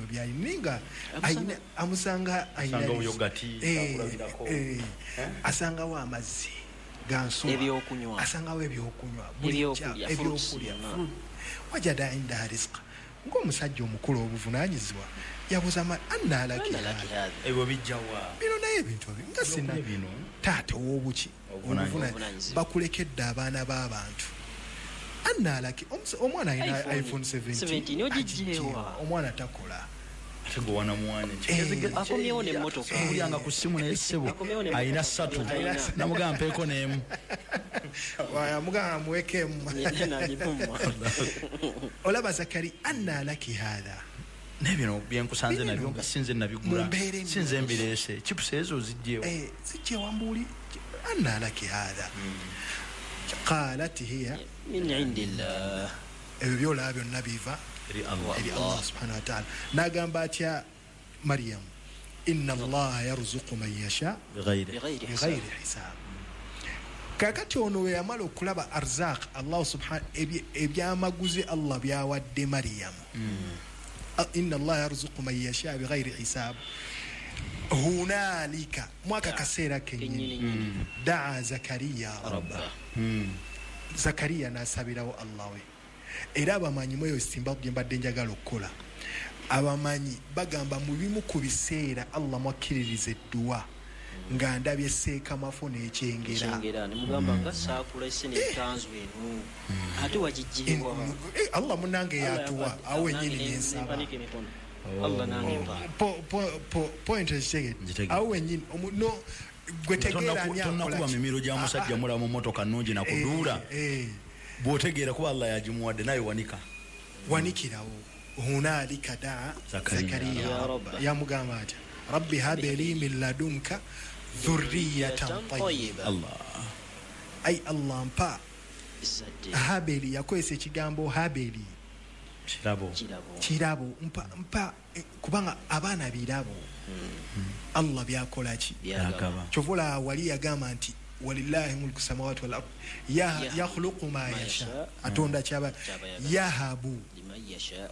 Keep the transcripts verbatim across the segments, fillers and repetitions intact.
Byalina nga amusanga asangawo amazzi gansuwa, asangawo ebyokunywa, ebyokulya, wajada indaha rizqa. Ng'omusajja omukulu obuvunaanyizibwa yabuuza anna laki hadha, ebyo bijjawa bino? Naye ebintu nga sina taata ow'obuki obuvunaanyizibwa, bakulekedde abaana b'abantu. Anna laki, omwana alina iPhone seventeen omwana takola ate gwe wanamuwanya akomyewo n'emmotoka kulyanga ku ssimu naye ssebo alina ssatu namugamba mpeeko n'emu amugamba muwekeemu. Olaba Zakari anna laki hadha, naye bino byenkusanze nabyo nga sinze nabigula sinze mbireese chipusi ezo zijjewo zijjewa mbuuli. Anna laki hadha qalat hiya min indillah, ebyo byolaba byonna biva eri Allah subhanahu wa ta'ala. Nagamba atya Maryam, inna Allaha yarzuqu man yasha bighayri hisab. Kakati ono we yamala okulaba arzaq Allah subhanahu ebyamaguzi Allah byawadde Maryam, inna Allaha yarzuqu man yasha bighayri hisab. Hunalika mwaka kaseera kennyini daa Zakariya rabba, Zakariya n'asabirawo Allah we. Era abamanyi mweyo simba gye mbadde njagala okukola, abamanyi bagamba mu bimu ku biseera Allah mwakkiririza edduwa nga ndabye seekamafo n'ekyengera ne mugamba nga saakula esse n'ekkanzu eno ate wagiggyibwa Allah munnange yatuwa awo wennyini nensaba Allah nange mpa point ekitegedde awo wennyini no gwe tegeera ani akola tonnakuba mimiro gya musajja mulamu mmotoka nnungi nakuduula bw'otegeera kuba Allah yagimuwadde naye wanika wanikirawo. Hunalika daa Zakariya yamugamba atya rabbi habli min ladunka dhurriyatan tayyiba. Allah ay Allah mpa habeli, yakozesa ekigambo habeli kirabo kirabo mpa mpa kubanga abaana birabo Allah byakola ki kyovula wali yagamba nti walillahi mulku samawati wal ard yakhluqu ma yasha, atonda kyaba yahabu liman yasha,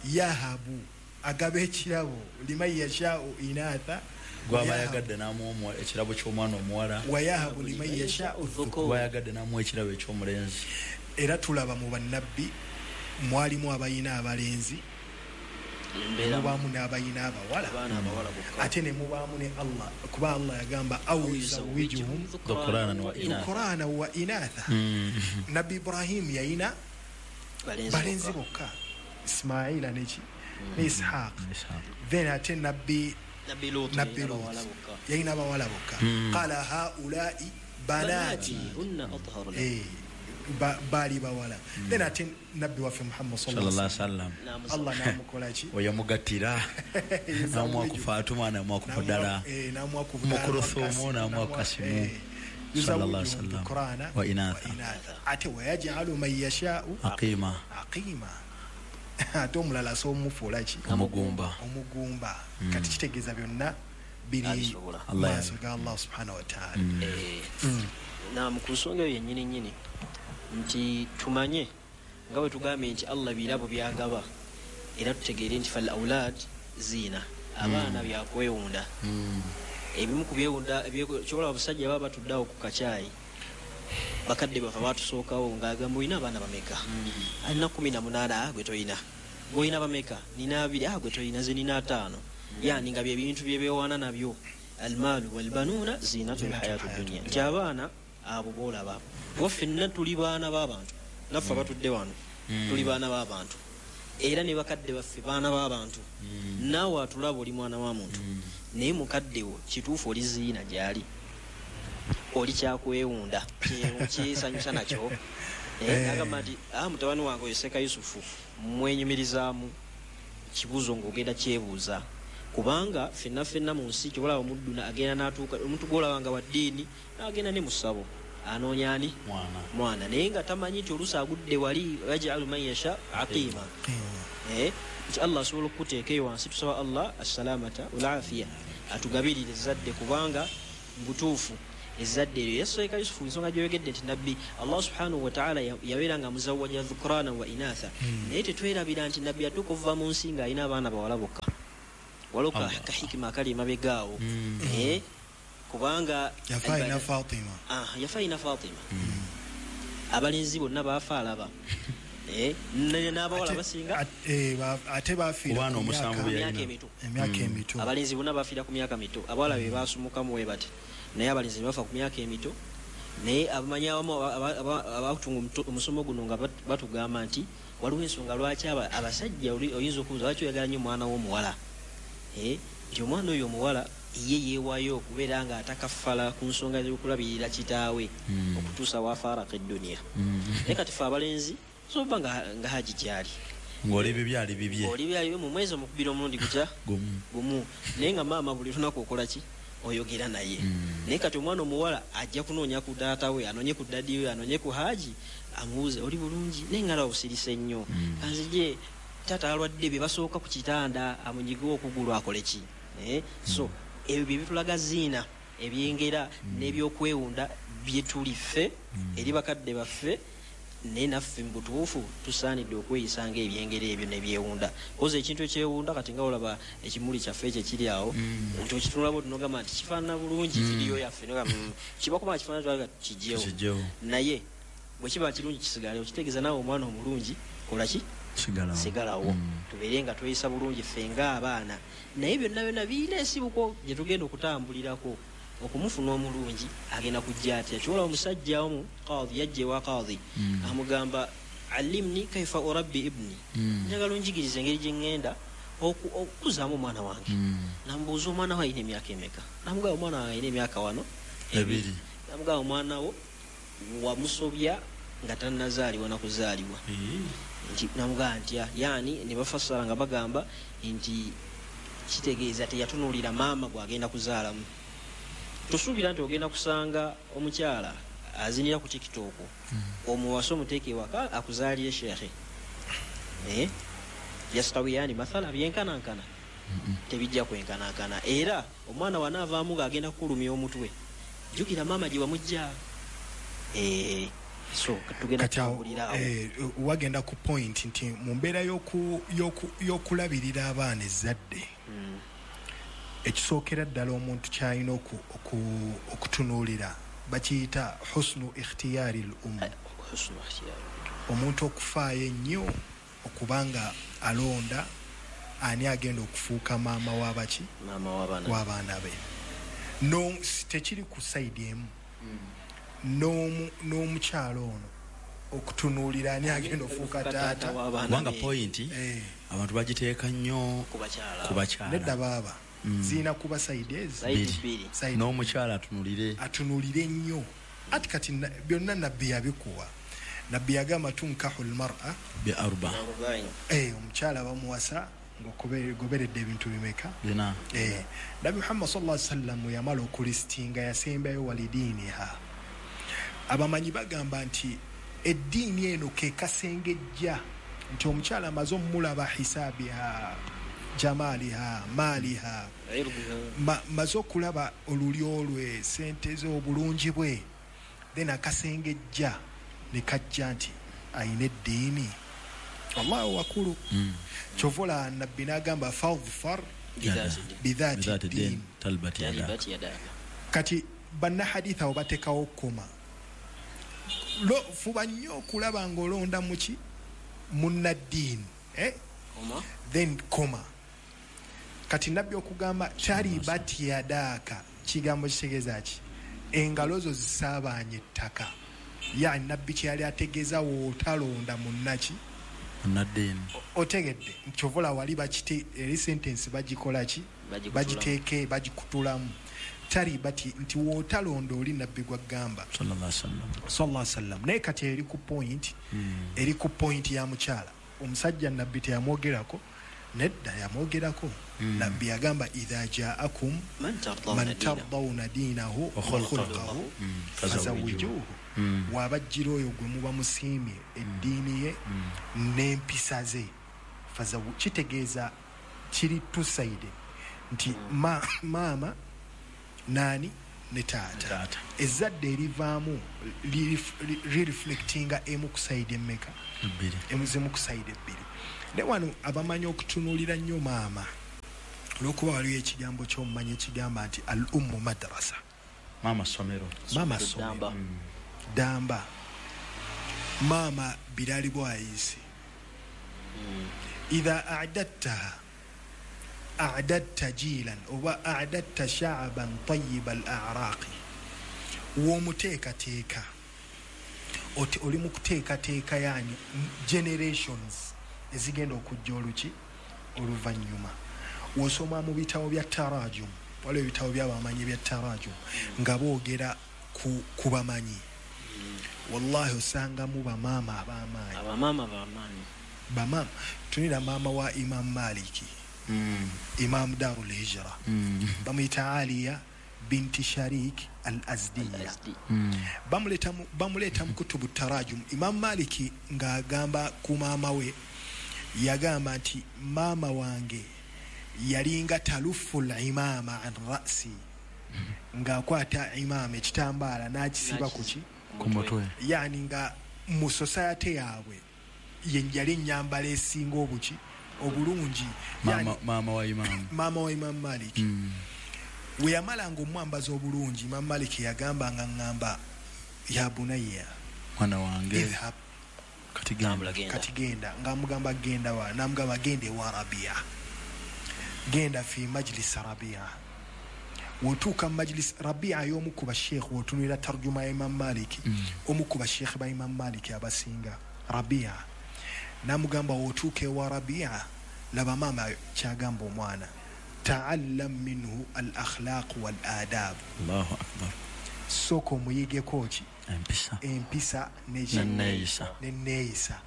yahabu agaba ekirabo liman yasha inatha, gwaba yagadde n'amuwa ekirabo ky'omwana omuwala, wa yahabu liman yasha udhukur, gwaba yagadde n'amuwa ekirabo eky'omulenzi. Era tulaba mu bannabbi mwalimu abayina abalenzi mubaamu n'abayina abawala ate ne mubaamu ne Allah, kuba Allah yagamba au yuzawijuhum dhukrana wa inatha. Nabbi Ibrahim yayina balenzi bokka, Ismaila neki ne Ishaq, then ate nabbi Nabbi Lut yayina abawala bokka. Qala haulai banati hunna atharu lakum, baali bawala. Then ate nabbi waffe Muhammad sallallahu alaihi wasallam Allah namukola ki oyamugattira namuwa ku Fatuma namuwa ku Budala namuwa ku Mukuruthumu namuwa ku Kasimu sallallahu alaihi wasallam wa inatha, ate wayaj'alu man yasha'u aqima aqima, ate omulala somufuula ki omugumba omugumba. Kati kitegeeza byonna biri maaso ga Allah subhanahu wa ta'ala. Naam, ku nsonga eyo yennyini nnyini nti tumanye nga bwe tugambye nti Allah birabo byagaba, era tutegeere nti fal aulad ziina, abaana byakwewunda. Ebimu ku byewunda kyobola abasajja baba batuddeawo ku kacaayi, bakadde bafe batusookawo ng'agamba olina abaana bameka, alina kumi na munaana gwe toyina, gw'olina bameka, nina abiri gwe toyina, ze nina ataano. Yani nga bye bintu bye beewaana nabyo, almaalu walbanuuna ziinatul hayatud dunya, nti abaana abo boolaba kuba ffenna tuli baana b'abantu, naffe abatudde wano tuli baana b'abantu, era ne bakadde baffe baana b'abantu. Naawe atulaba oli mwana wa muntu, naye mukadde wo kituufu oli ziina gy'ali, oli kyakwewunda kyesanyusa nakyo. Agamba nti mutabani wange oyo Seka Yusufu mwenyumirizaamu kibuuzo ng'ogenda kyebuuza, kubanga ffenna ffenna mu nsi kyobalaba omuddu agenda n'atuuka, omuntu gw'olaba nga wa ddiini n'agenda ne mu ssabo anoonya ani mwana, naye nga tamanyi nti oluusi agudde wali yajalu man yasha aqima. Nti Allah asobola okukuteeka eyo wansi. Tusaba Allah assalamata wal afiya atugabirire ezzadde, kubanga mu butuufu Ezzadde eryo yasoeka Yusufu, ensonga gy'oyogedde nti nabbi Allah subhanahu wa ta'ala yabeera nga muzawwaja dhukrana wa inatha, naye tetwerabira nti nabbi yatuuka okuva mu nsi ng'alina abaana bawala bokka. Waliwo kahikima akali emabega awo, kubanga yafa ina Fatima, yafa ina Fatima, abalenzi bonna baafa alaba, n'abawala basinga ate bafiira ku myaka emito, emyaka emito. Abalenzi bonna bafiira ku myaka mito, abawala be baasumukamu we bati, naye abalenzi ne bafa ku myaka emito. Naye abamanyi abamu abatunga omusomo guno nga batugamba nti waliwo ensonga lwaki abasajja oyinza okubuuza lwaki oyagala nnyo omwana w'omuwala, nti omwana oyo omuwala ye yeewaayo okubeera nga atakafala ku nsonga z'okulabirira kitaawe okutuusa waafaaraka edduniya. Naye kati fe abalenzi soba nga haji gyali ng'oli ebyo byali bibye, oli byali mu mwezi omukubira omulundi gutya gumu, naye nga maama buli lunaku okola ki oyogera naye. Naye kati omwana omuwala ajja kunoonya ku taata we, anoonye ku dadi we, anoonye ku haji, amubuuze oli bulungi, naye nga obusirise nnyo, kanzije taata alwadde bye basooka ku kitanda amunyige okugulu akole ki. So ebyo bye bitulaga ziina ebyengera n'ebyokwewunda bye tuli ffe eri bakadde baffe, naye naffe mu butuufu tusaanidde okweyisa ng'ebyengera ebyo nebyewunda. Koza ekintu ekyewunda kati nga olaba ekimuli kyaffe ekyo ekiri awo, nti okitunulabo nogamba nti kifaanana bulungi vidiyo yaffe, kiba kuba kifaanana kiggyewo, naye bwe kiba kirungi kisigalewo, kitegeeza naawe omwana omulungi kola ki sigalawo, tubeere nga tweyisa bulungi ffe ng'abaana. Naye byonna byonna birina ensibuko gye tugenda okutambulirako okumufuna omulungi agenda kujja atya. Kyola omusajja omu qadhi yajja ewa qadhi amugamba allimni kaifa urabbi ibni, njagala onjigirize engeri gye ŋŋenda okukuzaamu omwana wange. Namubuuza omwana wo alina emyaka emeka, namugamba omwana wange alina emyaka wano ebiri. Namugamba omwana wo wamusobya nga tannazaalibwa nakuzaalibwa. Nti namugamba ntya, yaani ne bafassala nga bagamba nti kitegeeza teyatunuulira maama gw'agenda kuzaalamu. Tusuubira nti ogenda kusanga omukyala azinira ku TikTok, omuwase omuteeke ewaka akuzaalire sheekhe, yastawiyani mathala byenkanankana, tebijja kwenkanankana. Era omwana wanaavaamu ng'agenda kukulumya omutwe, jjukira maama gye wamujja. So tugenda kutambulira awo wagenda ku point nti mu mbeera y'okulabirira abaana ezzadde, ekisookera ddala omuntu kyalina okutunuulira bakiyita husnu ikhtiyari l-um, omuntu okufaayo ennyo okubanga alonda ani agenda okufuuka maama w'abaki w'abaana be. No, tekiri ku sayidi emu, n'omukyalo ono okutunuulira ani agenda okufuuka taata. Kubanga point abantu bagiteeka nnyo ku bakyala. Nedda baaba zirina kuba sayidi ezi n'omukyala atunulire atunulire nnyo. Ati kati byonna nabbi yabikuwa. Nabbi yagamba tunkahu lmar'a bi arba, omukyala bamuwasa ng'ogoberedde ebintu bimeka bina. Nabbi Muhammad sallallahu alaihi wasallam yamala okulistinga yasembayo walidiiniha. Abamanyi bagamba nti eddiini eno ke kasengejja nti omukyala amaze omulaba hisabiha jamaliha maliha, maze okulaba olulyo lwe, sente ze, obulungi bwe, then akasengejja ne kajja nti ayina eddiini. Allahu wakulu. Kyovola nabbi n'agamba fadfar bidhati ddin. Kati bannahaditha abo bateekawo koma, fuba nnyo okulaba ng'olonda muki munnaddiini, then koma. Kati nabbi okugamba taribat yadaka, kigambo kitegeeza ki? Engalo zo zisaabaanye ettaka. Yani nabbi kyeyali ategeeza w'otalonda munnaki munnaddiini. Otegedde kyovola wali bakite eri sentence bagikola ki bagiteeke bagikutulamu taribati nti w'otalonda oli nabbi gwagamba sallallahu alaihi wasallam. Naye kati eri ku point, eri ku point ya mukyala. Omusajja nabbi teyamwogerako, nedda yamwogerako. Nabbi yagamba idha jaakum man tardawna diinahu wa khulqahu fazawijuhu, wabajjira oyo gwe muba musiimye eddiini ye n'empisa ze. Kitegeeza kiri two sided nti maama nani ne taata. Ezzadde erivaamu lireflectinga emu ku side emmeka? Ebbiri. Emuzimu ku side ebbiri. Ne wano abamanyi okutunuulira nnyo maama, olw'okuba waliwo ekigambo ky'omumanyi ekigamba nti al ummu madrasa. Maama ssomero. Maama ssomero. Mm. Damba. Maama birali bwayisi. Mm. Idha a'dadtaha a'dadta jilan oba a'dadta sha'ban tayyiba al-a'raqi. W'omuteekateeka oti oli mu kuteekateeka yani generations ezigenda okujja oluki oluvannyuma. Wosoma mu bitabo bya tarajum, waliwo ebitabo by'abamanyi bya tarajum nga boogera ku, ku bamanyi. Wallahi osangamu bamaama ab'amaanyi. Abamaama b'amaanyi. Bamaama tunira maama wa Imam Maliki, mm. Imam Darul Hijra, mm. bamuyita Aliya binti Sharik al-Azdiya. Al-Azdi. Mm. Bamuleta mu, bamuleta mu kutubu tarajum. Imam Maliki ng'agamba ku maama we, yagamba nti maama wange yalinga talufu al-imama an ra'si, ng'akwata imama ekitambaala n'akisiba ku ki? Ku mutwe. Yani nga mu society yaabwe ye yali ennyambala esinga obuki obulungi. Maama, maama wa Imam. Maama wa Imam Maliki. Mm. We yamalanga omwambaza obulungi, Imam Maliki yagamba nga ngamba ya bunayya, mwana wange, idhhab, kati genda, kati genda. Ng'amugamba genda wa, n'amugamba genda ewa Rabia, genda fi majlis Rabia. Wotuuka mu majlis Rabia y'omu ku basheikh, wotunulira tarjuma ya Imam Maliki, mm. omu ku basheikh ba Imam Maliki abasinga Rabia, n'amugamba wotuuka ewa Rabia, laba maama kyagamba omwana, ta'allam minhu al-akhlaq wal-adab. Allahu akbar. Sooka omuyigeko ki? Empisa. Empisa n'enneeyisa. N'enneeyisa.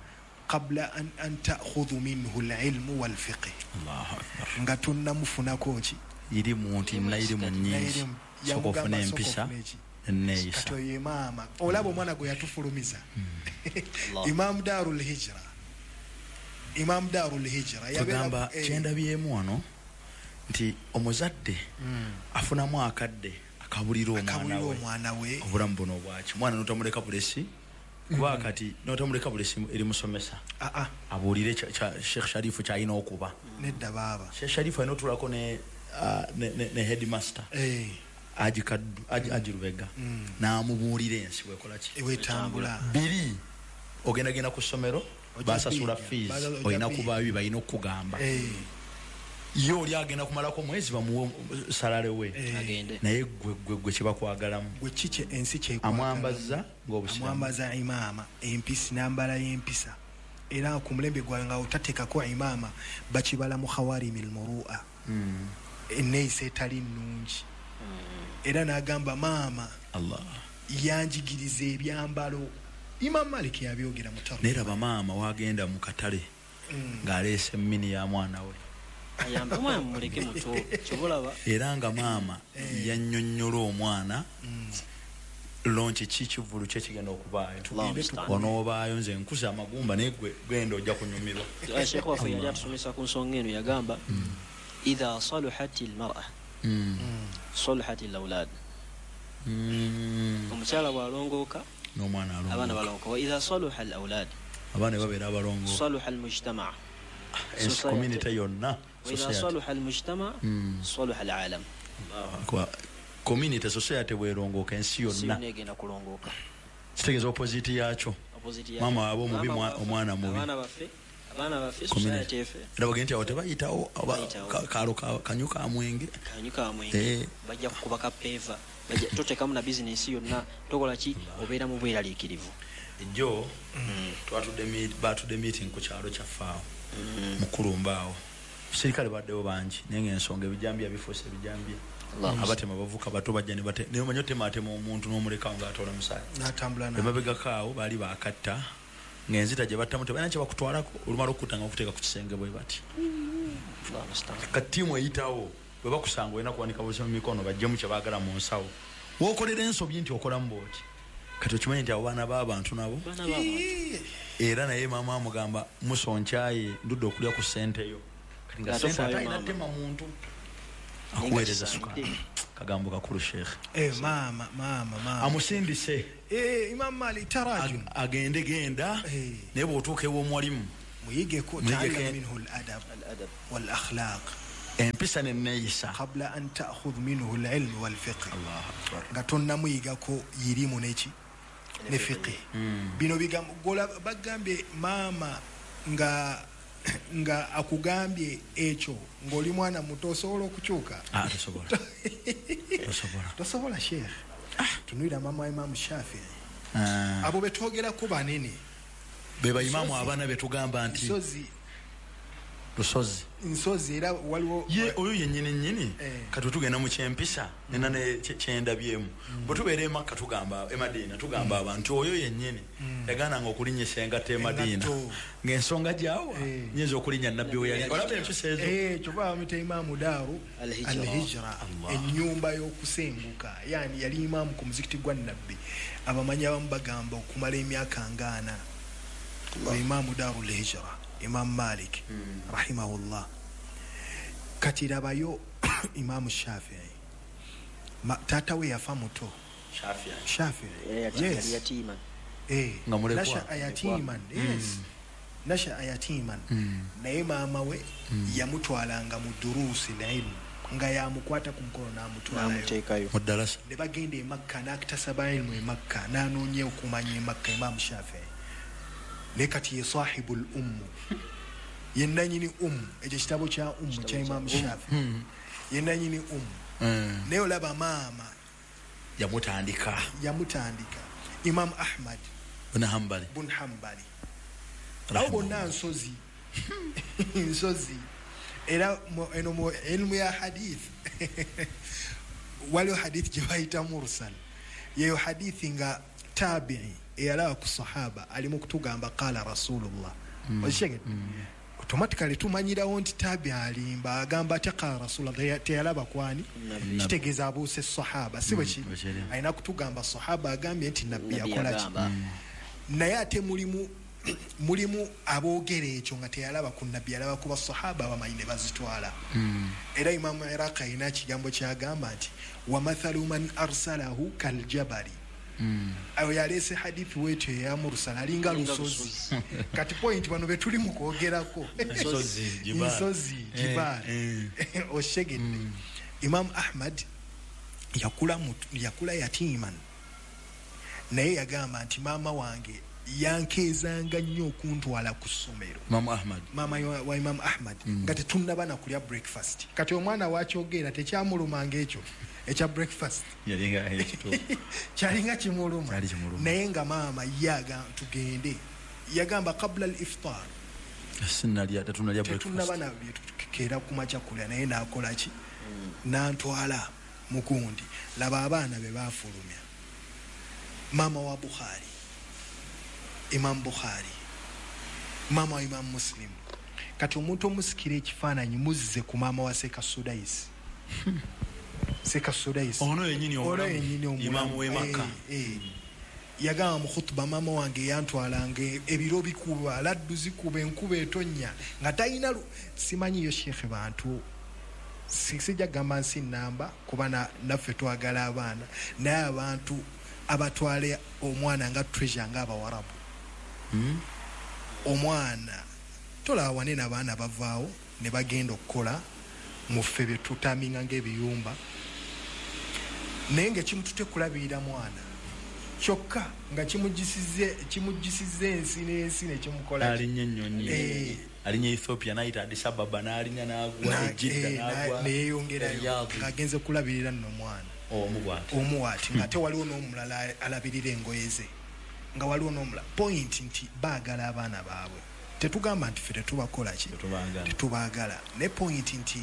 Qabla an, an ta'khudhu minhu al-ilmu wal-fiqh. Allahu akbar. Nga tonnamufunako ki? Irimu nti nayirimu nnyingi. Sooka ofune empisa n'enneeyisa. Kati oyo maama olaba omwana gwe yatufulumiza. Allah. Imam Darul Hijra. Imam Darul Hijra tugamba eh, kyendabyemu wano nti omuzadde mm. afunamu akadde akabulira omwana akabulira we omwana we obulamu buno obwaki. Omwana n'otamuleka bulesi, kuba kati n'otamuleka bulesi eri musomesa ah ah abuulire Sheikh Sharifu ky'alina okuba. Nedda baaba. Sheikh Sharifu alina otuulako ne, uh, ne, ne, ne headmaster eh. Aji Kaddu, Aji, Aji Lubega, mm. n'amubuulira ensi bw'ekola ki? Wetambula. Biri ogendagenda ku ssomero basasula fees, olina kubaayo balina okukugamba. Eh. Ye oli agenda kumalako mwezi bamuwe salale we. Agende. Naye gwe gwe gwe kibakwagalamu. Gwe kiki ensi kyekwagalamu. Amwambaza ng'obusiraamu. Amwambaza imaama, empisa nambala y'empisa. Era ku mulembe gwawe nga otateekako imaama bakibala mu khawarimil murua. Mm. Enneeyisa etali nnungi. Mm. Era n'agamba maama Allah yanjigiriza ebyambalo. Imam Maliki yabyogera mu tarjuma. Naye laba maama wagenda mu katale mm. ng'aleese emmini ya mwana we. Ayambe omwana mumuleke muto, kyobalaba. Era nga maama eh. yannyonnyola omwana mm. lonki ki kivvulu kye kigenda okubaayo. Onoobaayo nze nkuza amagumba naye gwe genda ojja kunyumirwa. Sheikh waffe yali atusomesa ku nsonga eno, yagamba mm. idha saluhat al-mar'a mm. saluhat al-awlad. Mm. Omukyala bw'alongooka n'omwana alongooka, abaana balongooka. Wa idha saluha al-awlad, abaana babeera abalongooka, saluha al-mujtama', ensi community yonna. Wa idha saluha al-mujtama' saluha al-alam. Kwa community society bw'erongooka ensi yonna egenda kulongooka. Kitegeeza opposite yakyo. Maama abo mubi, omwana mubi. Abaana baffe, abaana baffe society efe. Era bagenda nti awo tebayitawo kaalo kanyu ka mwenge. Kanyu ka mwenge. Bajja kukuba kapeeva. Bajja toteekamu na bizinensi yonna, tokola ki, obeera mu bweraliikirivu. Ejjo twatudde batudde meeting ku kyalo kyaffe awo mukulumba awo. Abasirikale baddewo bangi naye ng'ensonga ebijambiya bifuuse ebijambiya. Abatema bavuka bato bajja ne bate naye omanyi otemaatema omuntu n'omulekawo ng'atoola musaayi. N'atambula naye. Emabegako awo baali baakatta ng'enzita gye battamu tebalina kye bakutwalako, olumala okutta nga bakuteeka ku kisenge bwe bati. Kati ttiimu eyitawo bwe bakusanga olina kuwanika busa mu mikono bajjemu kye baagala mu nsawo. W'okolera ensobi nti okolamu bw'oti. Kati okimanyi nti abo baana b'abantu nabo. Era naye maama amugamba muso nkyaye ndudde okulya ku ssente yo. Kati nga ssente ate alina ttema muntu. Akuweereza sukaali. Kagambo kakulu Sheikh. Eh, mama mama mama amusindise eh, Imam Malik tarajum agende genda eh. Naye bw'otuuka ew'omwalimu muyigeko ta'allam minhu al-adab al-adab wal-akhlaq empisa n'enneeyisa qabla an ta'khudh minhu al-ilm wal-fiqh. Allahu akbar. Nga tonnamuyigako yirimu neki ne fiqh. Bino bigambo gola bagambye mama nga nga akugambye ekyo ng'oli mwana muto osobola okukyuka. Ah, tosobola. Tosobola. Tosobola Sheikh. Tunuulira mama wa Imam Shafi'i. Ah. Abo betwogerako banene be baimamu abaana betugamba nti nsozi lusozi nsozi era waliwo ye oyo yennyini nnyini eh. Kati tugenda mu kyempisa nena ne kyendabyemu mm. Bwe tubeera e Makka tugamba e Madiina tugamba mm. abantu oyo yennyini mm. Yagaananga okulinnyisa engatto e Madiina ng'ensonga gyawa eh. Nyinza okulinnya nabbi we yali olaba empisa ezo eh, kyova bamuyita Imaamu Daaru Al-Hijra, ennyumba y'okusenguka. Yani yali imaamu ku muzikiti gwa Nabbi. Abamanyi abamu bagamba okumala emyaka ngaana Imaamu Daaru Al-Hijra Imam Malik mm. rahimahullah. Kati labayo Imam Shafi'i Ma, tata we yafa muto Shafi'i Shafi'i yes yatiman eh nga nasha ayatiman yes mm. nasha ayatiman mm. Naye maama we mm. yamutwalanga mu durusi ilmu nga yamukwata ku mukono n'amutwalayo n'amuteekayo mu ddalasa ne bagenda e Makka n'akitasaba ilmu e Makka n'anoonya okumanya e Makka Imam Shafi'i naye kati ye sahibul ummu ye nannyini ummu ekyo kitabo kya ummu kya Imam Shafi'i ye nannyini ummu naye olaba maama yamutandika yamutandika Imam Ahmad bin Hanbali bin Hanbali abo bonna nsozi nsozi era eno mu ilmu ya hadith waliwo hadith gye bayita mursal yeyo hadithi nga tabi'i eyalaba ku sahaba ali mu kutugamba qala rasulullah mm. Okitegedde mm. Automatically tumanyirawo nti tabi alimba agamba ate qala rasulullah teyalaba kwani kitegeeza abuuse sahaba si bwe kiri alina kutugamba sahaba agambye nti nabbi yakola ki naye ate mulimu mulimu aboogera ekyo nga teyalaba ku nabbi yalaba ku basahaba abamanyi ne bazitwala mm. Era Imamu Iraq alina ekigambo kyagamba nti wa mathalu man arsalahu kaljabali Mm. Ayo yalese hadithi wetu ya mursal alinga lusozi kati point bano betuli mu kwogerako nsozi jibal nsozi jibal eh, eh. Oshegedde mm. Imam Ahmad yakula yakula yatiman naye yagamba nti maama wange yankeezanga nnyo okuntwala ku ssomero Imam Ahmad maama wa Imam Ahmad mm. Nga tetunnaba na kulya breakfast kati omwana wakyogera tekyamulumanga ekyo ekya breakfast yalinga ekituufu kyalinga kimuluma Kyali kimuluma naye nga maama yaga tugende yagamba qabla al-iftar sinalya tetunalya breakfast tetunnaba na byetukeera ku makya kulya naye n'akola ki mm. N'antwala mukundi laba abaana be baafulumya maama wa Bukhari Imam Bukhari maama wa Imam Muslim kati omuntu omusikira ekifaananyi muzze ku maama wa Seka Sudais Seka Sudais ono yennyini ono yennyini omulamu Imam w'e Makka eh, eh. Yagamba mu khutuba maama wange yantwalanga ebiro bikuba laddu zikuba enkuba etonnya nga talina simanyiyo Sheikh bantu sijja gamba nsi nnamba kuba naffe twagala abaana naye abantu abatwale omwana nga treasure nga abawarabu mm. Omwana tolaba wanene abaana bavaawo ne bagenda okukola mu ffe bye tutaminga ng'ebiyumba naye nga kimutute kulabirira mwana kyokka nga kimugisize kimugisize ensi n'ensi ne kimukola alinnya ennyonyi eh. Alinnya Ethiopia n'ayita Addis Ababa n'alinnya n'agwa Jeddah eh, n'agwa neyeyongerayo ng'agenze kulabirira nno omwana omu bw'ati omu ati ng'ate waliwo n'omulala alabirira engoye ze nga waliwo n'omulala point nti baagala abaana baabwe tetugamba nti ffe tetubakola ki tetubaagala ne point nti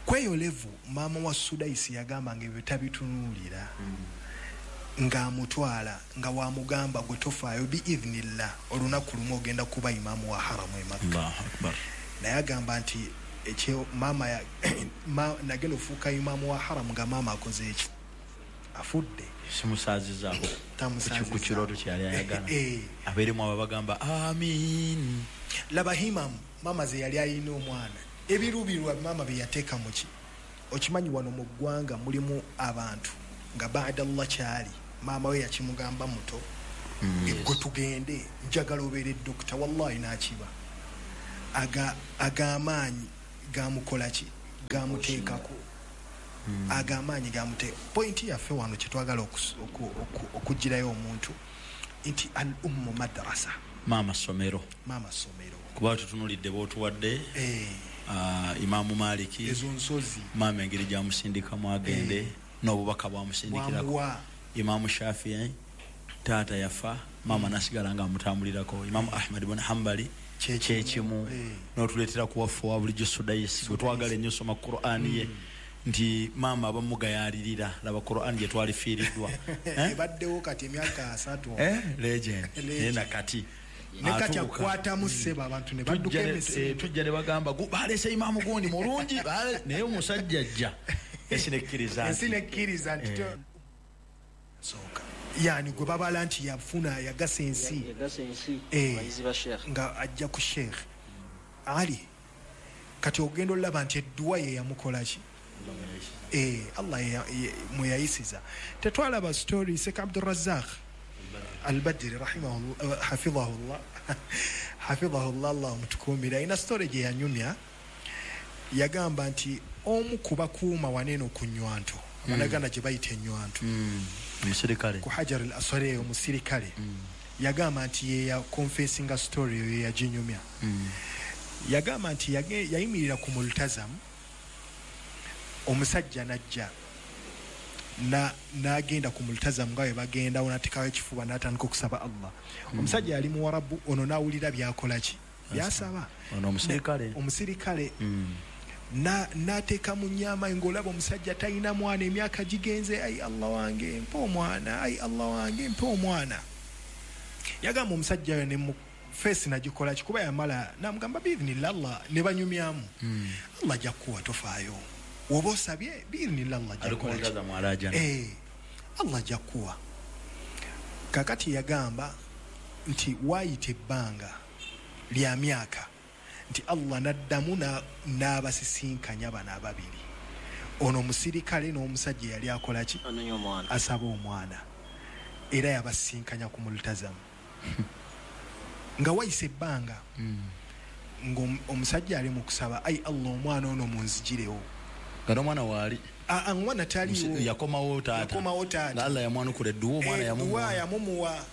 kweyo level maama wa Sudaisi yagamba nga ebyo tabitunuulira mm. Ng'amutwala nga wamugamba gwe tofaayo bi idhnillah olunaku lumu ogenda kuba imaamu wa haramu e Makka Allahu akbar naye agamba nti ekyo maama ya ma, nagenda ofuuka imaamu wa haramu nga maama akoze eki afudde simusaazizaako ku kirooto kyeyali ayagala eh. Abeeremu abo bagamba amin laba himamu maama ze yali alina omwana ebirubirwa maama bye yateeka mu ki Okimanyi wano mu ggwanga mulimu abantu nga baada Allah kyali maama we yakimugamba muto mm. Gwe tugende njagala obeere dokita, wallahi n'akiba. Aga agamaanyi gamukola ki, gamuteekako mm. Agamaanyi gamute. Pointi yaffe wano kye twagala okugirayo omuntu nti al ummu madrasa, maama somero, maama somero. Kuba tutunulidde bootuwadde eh. Uh, Imamu Maliki ezo nsozi maama engeri gyamusindikamu agende eh. N'obubaka bwamusindikirako. Imamu Shafii taata yafa, maama nasigala nga amutambulirako. Imamu Ahmad ibn Hanbali kyekimu eh. N'otuleetera ku waffe wa bulijjo Sudayisi gwe twagala ennyo soma Qur'ani ye mm. Nti maama abamugayalirira laba Qur'ani gye twalifiiriddwa ebaddewo kati emyaka asatu eh, legend naye nakati nekati akwatamu ssebo abantu ne badduka emisinde. Tujja ne bagamba baleese imaamu gundi mulungi, naye omusajja ajja ensi nekkiriza ensi nekkiriza nti sooka yani gwe babala nti yafuna yagasa ensi nga ajja ku sheikh Ali. Kati ogenda olaba nti edduwa ye yamukola ki, eh, Allah mweyayisiza. Tetwalaba story Sheikh Abdurrazzaq Al-Badri rahimahullah hafidhahullah hafidhahullah Allah mutukumira, ina story gye yanyumya. Yagamba nti omu ku bakuuma waneno ku nnywanto, abanaganda gye bayita ennywanto, omusirikale ku Hajar al-Aswad eyo omusirikale, yagamba nti ye ya confessinga story eyo yaginyumya. Yagamba nti yayimirira ku multazam, omusajja najja na n'agenda ku multazam nga bwe bagenda n'ateekawo ekifuba n'atandika okusaba Allah. Omusajja yali muwarabu ono n'awulira by'akola ki, by'asaba. Ono omusirikale omusirikale na n'ateeka mu nnyama ng'olaba omusajja talina mwana, emyaka gigenze, ai Allah wange mpa omwana, ai Allah wange mpa omwana. Yagamba omusajja oyo ne mu feesi nagikola ki, kuba yamala n'amugamba biidhinillah Allah, ne banyumyamu Allah ajja kukuwa tofaayo, woba osabye biidhinillah Allah ajja kukuwa, eh, Allah ajja kukuwa. Kakati yagamba nti waayita ebbanga lya myaka nti Allah n'addamu n'abasisinkanya bano ababiri, ono omusirikale n'omusajja yali akola ki, asaba omwana, era yabasisinkanya ku multazamu. Nga wayise ebbanga ng'omusajja ali mu kusaba, ai Allah omwana ono munzigirewo. Nga n'omwana waali omwana taliiwo, yakomawo taata, yakomawo taata, Allah yamwanukula edduwa, omwana yamumuwa, yamumuwa.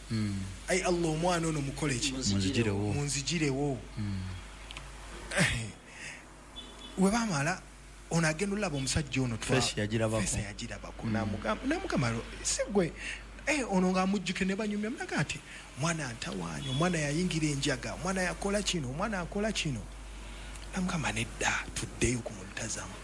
Ai Allah omwana ono mukole ki, munzigirewo, munzigirewo. We bamala ono agenda olaba omusajja ono feesi yagirabako, namugamba si gwe eh, ono ng'amujjuke ne banyumya mulaga nti omwana ntawaanya, omwana yayingira enjaga, omwana yakola kino, omwana akola kino. Namugamba nedda, tuddeyo ku multazamu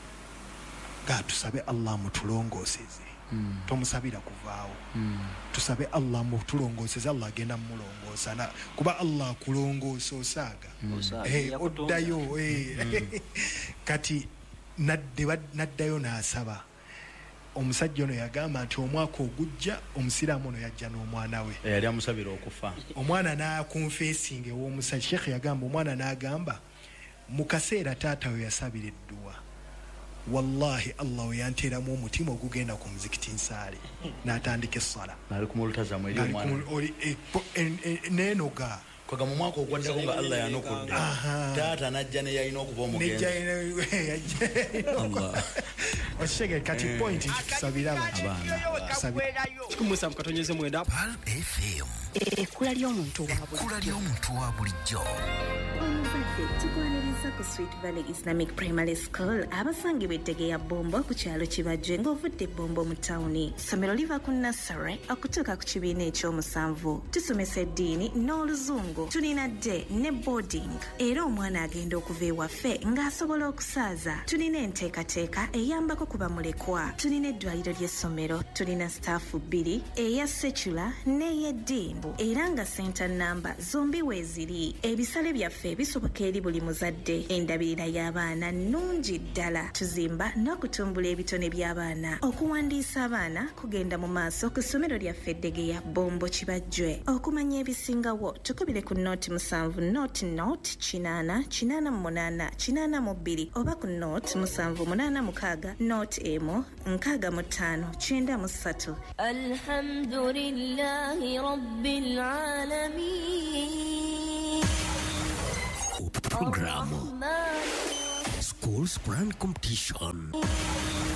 nga tusabe Allah mutulongooseze. Mm. Tomusabira kuvaawo. Mm. Tusabe Allah mutulongooseze, Allah agenda mulongoosa, kuba Allah akulongoosa osaaga. Mm. Eh, oddayo eh. Mm. Kati naddayo n'asaba. Omusajja ono yagamba nti omwaka ogujja omusiraamu ono yajja n'omwana we eyali amusabira okufa. Omwana n'akonfesinga ew'omusajja. Sheikh yagamba omwana n'agamba mu kaseera taata we yasabira edduwa, wallahi Allah we yanteeramu omutima ogugenda ku muzikiti nsaale, n'atandika essala neenoga kwaga mu mwaka ogwaddako nga Allah yanukudde taata n'ajja ne yalina okuba omugenzi. Okitegeera kati point nti tusabire abaana. Kikumi katonyeze mwenda Ekkula ly'omuntu wa bulijjo. Omuzadde tukwaniriza ku Sweet Valley Islamic Primary School abasangibwa ettege ya Bombo ku kyalo Kibajje ng'ovudde Bombo mu tawuni. Ssomero liva ku nursery okutuuka ku kibiina ekyomusanvu. Tusomesa eddiini n'oluzungu. Tulina day ne boarding. Era omwana agenda okuva ewaffe ng'asobola okusaaza. Tulina enteekateeka eyambako ku bamulekwa. Tulina eddwaliro ly'essomero. Tulina staafu bbiri, eya secular n'ey'eddiini. Era nga center number zombi weeziri. Ebisale byaffe bisoboka eri buli muzadde. Endabirira y'abaana nnungi ddala. Tuzimba n'okutumbula ebitone by'abaana. Okuwandiisa abaana kugenda mu maaso ku ssomero lyaffe Ddegeya Bombo Kibajjwe. Okumanya ebisingawo tukubire ku noti musanvu noti noti kinaana kinaana mu munaana kinaana mu bbiri oba ku noti musanvu munaana mukaaga noti emu nkaaga mu ttaano kyenda mu ssatu. Alhamdulillahi rabbil alamin. Programu Schools Quran Competition.